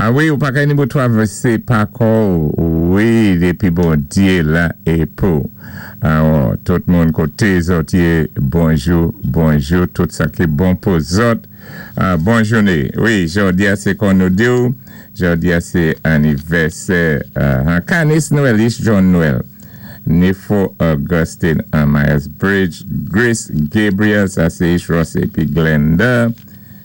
A wi, ou pa ka ni pou travèsé pa kò, wi, dépi Bondyé la é pou. Alò, tout moun koté zòt yé, bonjou, bonjou, tout sa ki bon pou zòt. Bon jouné. Wi, jòdi-a sé kon nou di, jòdi-a sé anivèsè Canis Noël, John Noël. Nifo Augustine an Myers Bridge, Grace Gabriel, sa sé Ross épi Glenda.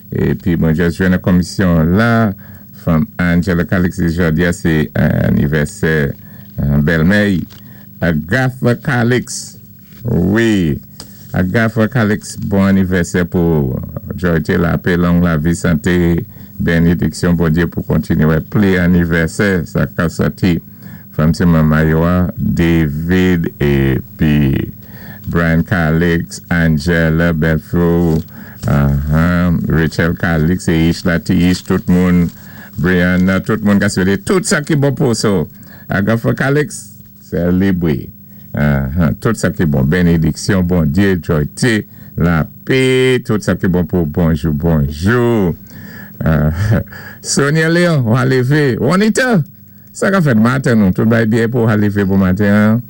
Épi, bon, jis jwenn yon komisyon la, from Angela Calix, jòdi-a sé anivèsè bèlmè. Agatha Calix, wi, Agatha Calix, bon anivèsè pou Joyté, lapè, long lavi, santé, bénédiksyon, Bondyé pou kontinué plis anivèsè, sa ka sòti from sé manman David épi Brian Calix, Angela Belfo, Rachel Calix é Ishla Tish, tout moun, Brianna, tout moun ka swété tout sa ki bon pou so. Agatha Calix, sélébwé. Tout sa ki bon, bénédiksyon, Bondyé, Joyté, lapè, tout sa ki bon pou bonjou, bonjou. Sonia Léon, ou a lévé. Juanita, sa ka fèt maten nou, tout bay byen pou a lévé pou maten.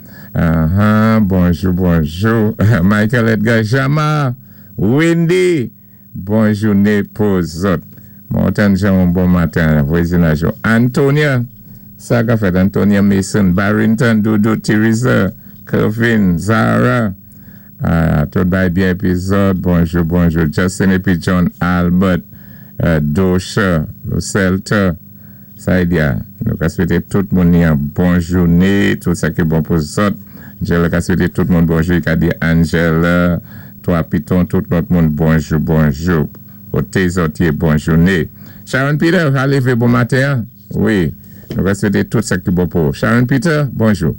Bonjou, bonjou. Michael Edgar Jama, Wendy, bon jouné pou zòt. Montan Jean, bon maten, vwazinaj. Antonia, sa ka fèt Antonia Mason, Barrington, Doudou, Teresa, Kevin, Zara, tout bay byen épi zòt, bonjou, bonjou. Justin épi John Albert, Dosha, Lucelta, sa y nou ka swété tout moun yon bon jouné, tout sa ki bon pou zòt. Angela ka swété tout moun bonjou, i ka di Angela, Trois Pitons, tout lòt moun bonjou, bonjou. Koté zòt yé, bon jouné. Sharon Peter, a lévé bon maten. Wi, nou ka swété tout sa ki bon pou. Sharon Peter, bonjou.